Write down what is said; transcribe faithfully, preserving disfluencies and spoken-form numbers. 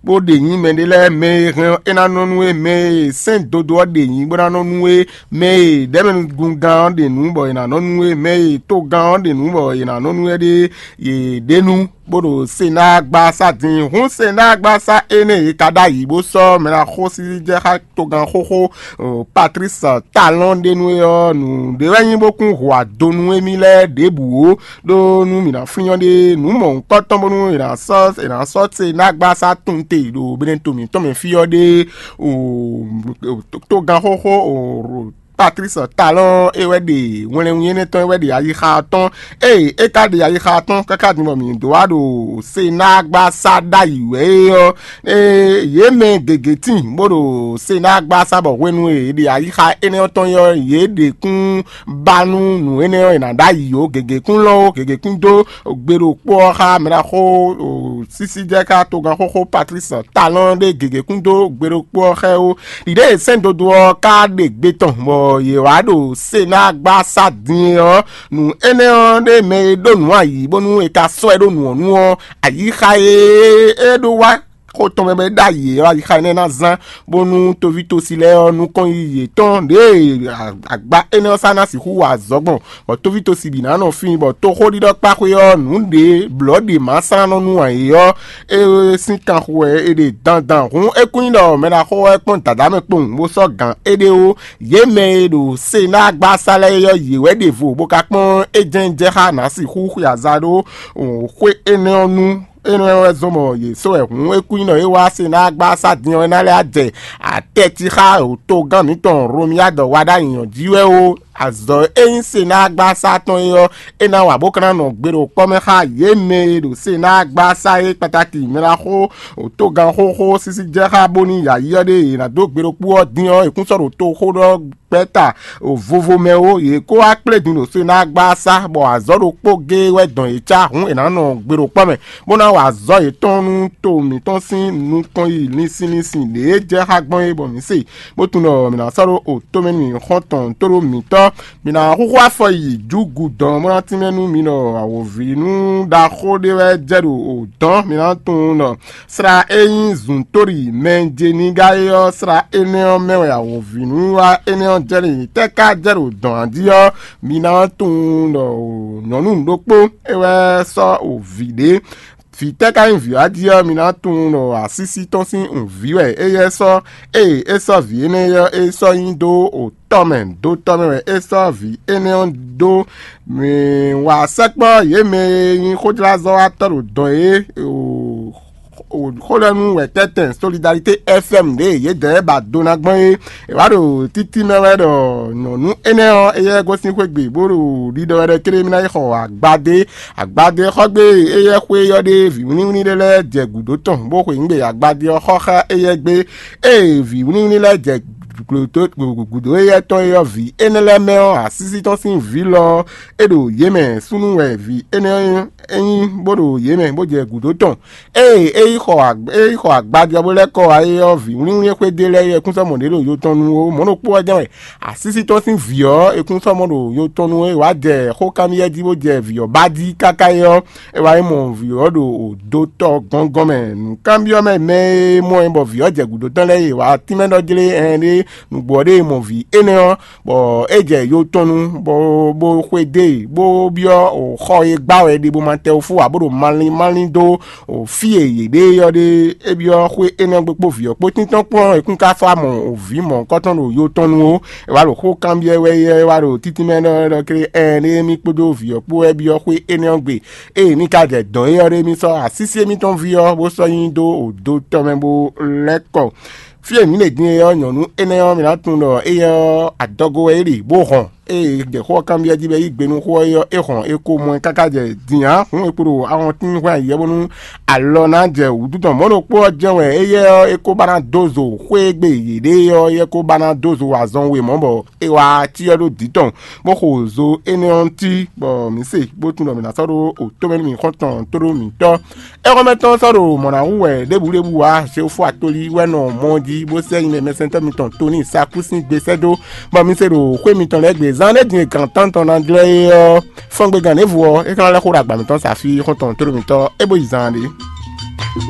bó ɖe nyí mɛɖé lɛ́ɛ, mɛ e hɛn ɔ́, é ná nɔ nú we; mɛ e sɛ́n dodo ɔ́ ɖe nyí bó ná nɔ nú we; mɛ e ɖɛ̌mɛnugungán ɔ́ ɖe nǔ bɔ è nǎ nɔ nú we; mɛ e togán ɔ́ ɖe nǔ bɔ è nǎ nɔ nú we ɖe, yě ɖe nú bó ɖo Senágbasá din. Hǔn Senágbasá énɛ́ e ka ɖ'ayǐ bó sɔ́ mɛ ná xó sísí jɛ xá togán xóxó Patlísi Talɔ́n ɖe nú é ɔ́, nǔɖé wɛ nyí bó kún hu ado nú émí lɛ́ɛ ɖěbǔ ó, ɖó nú mǐ ná flín ɔ́ ɖe, nǔ mɔ̌hunkɔtɔn bónú è nǎ sɔ́ è nǎ sɔ́ Senágbasá tunwun te ɖo Benɛto mǐtɔn mɛ fí ɔ́ ɖe. O togán xóxó o Patlísi Talɔ́n é wɛ ɖe wɛnlɛnwí énɛ́ tɔn, é wɛ ɖe ayixa ɔ́ tɔn. Ée é ka ɖe ayixa ɔ́ tɔn káká din bɔ mǐ dó wá ɖo Senágbasá ɖ'ayǐ wɛ é ɔ́, ée yě mɛ gěgé tíin bó ɖo Senágbasá bɔ hwenu e è ɖe ayixa énɛ́ ɔ́ tɔn é ɔ́, yě ɖe kún ba nú nǔ énɛ́ ɔ́, è nǎ ɖ'ayǐ ó. Gěgé kún lɔ́n ó, gěgé kún dó gbe ɖokpó ɔ́ xá mɛɖaxó sísí jɛ xá togán xóxó Patlísi Talɔ́n ɖé gěgé kún dó gbe ɖokpó ɔ́ xá ɛ ó. Ɖiɖée e sɛ́n dodo ɔ́ ka ɖe gbe tɔn bɔ yě wá ɖo Senágbasá din é ɔ́, nǔ énɛ́ ɔ́ ɖé mɛ e ɖó nǔ ayǐ bónú è ka sɔ́ ɛ ɖó nǔ ɔ́ nu ɔ́, ayixa e é ɖó wá xo tɔn mɛ bɔ é ɖ'ayǐ é ɔ́, ayixa énɛ́ ná zán bónú toví tosi lɛ́ɛ ɔ́ nukɔn yiyi yětɔn ɖěe agba énɛ́ ɔ́ sá ná sixú wa azɔ̌ gbɔn, bɔ toví tosi bǐ ná nɔ fí, bɔ toxóɖiɖɔkpáxwé ɔ́ nǔ ɖě blɔ̌ ɖě ma slán nɔ nú ǎ é ɔ́, é sín kanxu wɛ è ɖe dandan. Hǔn é kún nyí ɖɔ mɛ ɖaxó ɔ́ kpɔ́n dǎdá mɛ kpowun bó sɔ́ gǎn éɖée ó. Yě mɛ e ɖo Senágbasá lɛ́ɛ é ɔ́, yě wɛ ɖe vo bó ka kpɔ́n é jɛ́n jɛ xá nǎ sixú xwe aza ɖó xwé énɛ́ ɔ́ nu. Énɛ́ wɛ zɔ́n bɔ yě sɔ́ wɛ hǔn é kún nyí ɖɔ é wá Senágbasá din ɔ́, é ná lɛ́ jɛ atɛ́ti xá togán mǐtɔn Romiyád wa ɖ'ayǐ ɔ́ jí wɛ ó. Azɔ̌ e nyí Senágbasá tɔn é ɔ́, é ná wa bó ka ná nɔ gbe ɖo kpɔ́ mɛ xá yě mɛ e ɖo Senágbasá é kpatáki mɛ ná xó togán xóxó sísí jɛ xá bónú yǎyí ɔ́ ɖé è nǎ dó gbe ɖokpó ɔ́ dín ɔ́, è kún sɔ́ ɖo toxó ɖɔ gbɛ́ta vovo mɛ ó. Yě kó wá kplé din ɖo Senágbasá, bɔ azɔ̌ ɖokpó géé wɛ dɔn yě cá hǔn è nǎ nɔ gbe ɖo kpɔ́ mɛ, bó ná wa azɔ̌ yětɔn nú to mǐtɔn sín nukɔn yi linsin linsin ɖě jɛ xá gbɔn é, bɔ mǐ se bó tunwun ɖɔ mǐ ná sɔ́ ɖó otó mɛ nú mǐ xɔ́ntɔn tóɖó mǐtɔn. Mǐ ná xúxú afɔ yi jǔgudɔn bó ná tínmɛ nú mi ɖɔ awǒvi nú ɖaxó ɖé wɛ jɛ ɖo odɔ̌n. Mǐ ná tunwun ɖɔ sla e nyí zǔntóɖi mɛjeniga é ɔ́, sla énɛ́ ɔ́ mɛ wɛ awǒvi nú wa énɛ́ ɔ́ jɛ ɖe. Tɛ́ ka jɛ ɖo dɔ̌n jí ɔ́, mi ná tunwun ɖɔ nyɔ̌nu ɖokpó é wɛ sɔ́ o vǐ ɖé. Vǐ tɛ́ ka nyí vǐ ɔ́ jí ɔ́, mi ná tunwun ɖɔ asísí tɔn sín nǔví wɛ éyɛ́ sɔ́. Ée é sɔ́ vǐ énɛ́ ɔ́, é sɔ́ nyi dó otɔ́ mɛ, dó tɔ́ mɛ wɛ é sɔ́ vǐ énɛ́ ɔ́ dó. Mǐ wa sɛkpɔ́ yě mɛ e nyí xójlázɔ́watɔ́ ɖo dɔn é xólɛ́nú wɛ tɛ́tɛn Solidarité F M ɖě yědɛɛ ba do ná gbɔn é. È wá ɖo títí mɛ wɛ ɖɔ nyɔ̌nu énɛ́ ɔ́, éyɛ́ gosín xwé gbe bó ɖo ɖiɖɔ wɛ ɖɔ céɖé mì ná yi xɔ agbadé. Agbadé xɔ gbé éyɛ́ xwé ɔ́ ɖé vǐwlínwlín ɖé lɛ́ɛ jɛ gǔdo tɔn bó xweyǐgbe agbadé ɔ́ xɔ xá éyɛ́ gbé. Ée vǐwlínwlín lɛ́ɛ jɛ gǔdo éyɛ́ tɔn é ɔ́, vǐ énɛ́ lɛ́ɛ mɛ ɔ́, asísí tɔn sín vǐ lɔ ɔ́, é ɖo yě mɛ. Súnnu wɛ vǐ énɛ́ ɔ́ nyí bó ɖo yě mɛ bó jɛ gǔdo tɔn. Ée é yi xɔ ag- é yi xɔ agbajɔ bó lɛ́ kɔ wá é ɔ́, vǐwlínwlín xwédé lɛ́ɛ é kún sɔ́ mɔ ɖě ɖo yo tɔn nu ó. Mɔ̌ ɖokpó ɔ́ jɛ́n wɛ asísí tɔn sín vǐ ɔ́, è kún sɔ́ mɔ ɖo yo tɔn nu é wá jɛ xó kanbyɔ́ jí bó jɛ vǐ ɔ́ ba jí káká é ɔ́, é wá yi mɔ vǐ ɔ́ ɖo dotɔ gɔngɔn mɛ. Nǔkanbyɔ́ mɛ mɛ e mɔ ɛ bɔ vǐ ɔ́ jɛ gǔdo tɔn lɛ́ɛ é wá tínmɛ ɖɔ jlé ɛn ɖé nǔgbó ɔ́ ɖe mɔ vǐ énɛ́ ɔ́, bɔ é jɛ yo tɔn nu, bɔ bó xwedó e, bó byɔ́ xɔ e gbá wɛ ɖe bó ma tɛ wú fó ǎ, bó ɖo malín malín dó fí e yě ɖe ɔ́ ɖe. É byɔ́ xwé énɛ́ gbe kpó vǐ ɔ́ kpó tíntɔ́n kpɔ́n é kún ka fá mɔ vǐ mɔ̌hunkɔtɔn ɖo yo tɔn nu ó. É wá ɖo xó kanbyɔ́ wɛ é wá ɖo títí mɛ ɖɔ ɖɔ klé ɛn ɖé mì kpódó vǐ ɔ́ kpó wɛ byɔ́ xwé énɛ́ ɔ́ gbe. Ée mì ka jɛ dɔ̌n é ɔ́ ɖé, mì sɔ́ asísí émítɔn ví ɔ́ bó sɔ́ nyi dó odo tɔn mɛ bó lɛ́ kɔ. Fí e mǐ ɖe din é ɔ́, nyɔ̌nu énɛ́ ɔ́, mǐ ná tunwun ɖɔ éyɛ́ ɔ́, adɔgo wɛ é ɖe bó hɔn. Ée jɛ xó ɔ́ kanbyɔ́ jí bɔ é yí gbe nú xó ɔ́ é ɔ́, é hɔn é ko mɔ ɛ káká jɛ din ǎ. Hǔn é kpo ɖo ahɔntín hwɛ́n ayǐ ɔ́ bónú alɔ ná jɛ wǔ dutɔn. Mɔ̌ ɖokpó ɔ́ jɛ́n wɛ éyɛ́ ɔ́, é ko ba ná dó zo xwé e gbe yě ɖe é ɔ́, é ko ba ná dó zo azɔn we mɔ̌ bɔ é wá cyɔ ɖó dǐ tɔn, bó xo zo énɛ́ ɔ́ cí, bɔ mǐ se bó tunwun ɖɔ mǐ ná sɔ́ ɖó otó mɛ nú mǐ xɔ́ntɔn tóɖó mǐtɔn. Éxɔ́mɛ tɔn sɔ́ ɖo mɔ̌ ná hu wɛ ɖěbǔɖěbǔ ǎ. Xeofo atolí wɛ nɔ mɔ jí bó sɛ́ nyi mɛ mɛsɛntɔ́ mitɔn Toníi Sakúsin gbé sɛ́ dó, bɔ mi se ɖo xwé mitɔn lɛ́ɛ gbe. Zan ɖé din e gǎn tántɔn ná jlɔ́ é ɔ́, fɔ́ngbégán ɖěvo ɔ́, é ka ná lɛ́ xó ɖo agba mǐtɔn sa fí xɔ́ntɔn tóɖó mǐtɔn é bó yi zan ɖé.